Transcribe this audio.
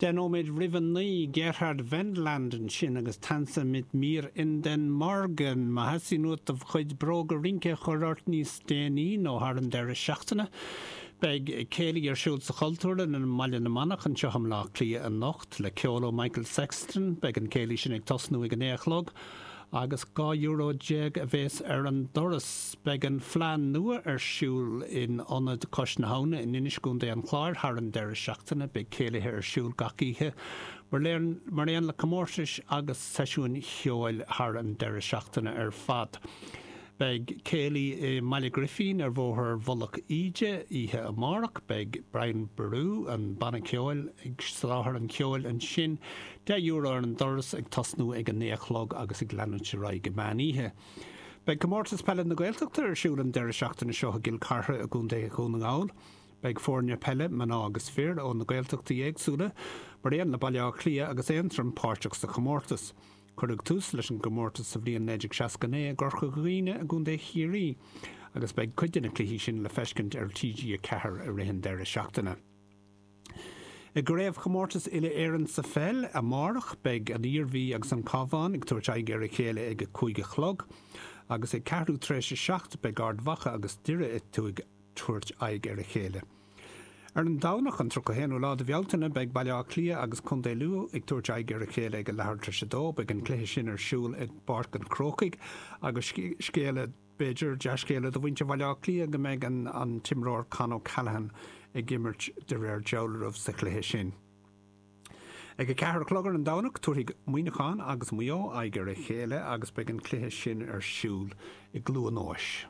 10 nóiméad roimh a 9, Gerhard Wendland ansin agus Tanze mit mir in den Morgen. Má theastaíonn uait do chuid bróga rince a chur ort níos déanaí nó thar an deireadh seachtaine, beidh céilí ar siúl sa Chultúrlann i mBaile na Manach anseo i mBleá Cliath anocht le ceol ó Michael Sexton. Beidh an céilí sin ag tosnú ag a 9 a chlog. Agus €12 euro a bhéas ar an doras. Beidh an Fleadh Nua ar siúl in Ionad Cois na hAbhna in Inis i gContae an Chláir thar an deireadh seachtaine. Beidh céilithe ar siúl gach oíche mar aon le comórtais agus seisiúin cheoil thar an deireadh seachtaine ar fad. Beidh céilí i mBaile Ghrifín ar Bhóthar Mhullach Íde oíche amárach. Beidh Brian Boru, an banna ceoil, ag soláthar an cheoil ansin. €10 ar an doras ag tosnú ag a 9 a chlog agus ag leanúint ar aghaidh go meán oíche. Beidh Comórtas Peile na Gaeltachta ar siúl an deireadh seachtaine seo i gCill Chartha i gContae Dhún na nGall. Beidh foirne peile, mná agus fir, ó na Gaeltachtaí éagsúla, mar aon le Baile Átha Cliath agus Aontroim páirteach sa chomórtas. Cuireadh tús leis an gcomórtas sa bhliain 1969 i gCorca Dhuibhne i gContae Chiarraí agus beidh cuid de na cluichí sin le feiscint ar TG4 i rith an deireadh seachtaine. I gCraobhchomórtas Uile-Éireann sa pheil amárach beidh an Iarmhí agus an Cabhán ag tabhairt aghaidh ar a chéile ag a 5 a chlog agus ag ceathrú tar éis a 7 beidh Ard Mhacha agus Doire ag tabhairt aghaidh ar a chéile. Ar an Domhnach, an 31ú lá de Bhealtaine, beidh Baile Átha Cliath agus Contae Lú ag tabhairt aghaidh ar a chéile ag a leathuair tar éis a dó. Beidh an cluiche sin ar siúl i bPáirc an Chrócaigh agus scéala, b'fhéidir, dea-scéala do mhuintir Bhaile Átha Cliath go mbeidh an t-imreoir Con O'Callaghan ag imirt de réir dealraimh sa chluiche sin. Ag a ceathair a chlog ar an Domhnach, tabharfaidh Muineachán agus Maigh Eo aghaidh ar a chéile agus beidh an cluiche sin ar siúl i gCluain Eois.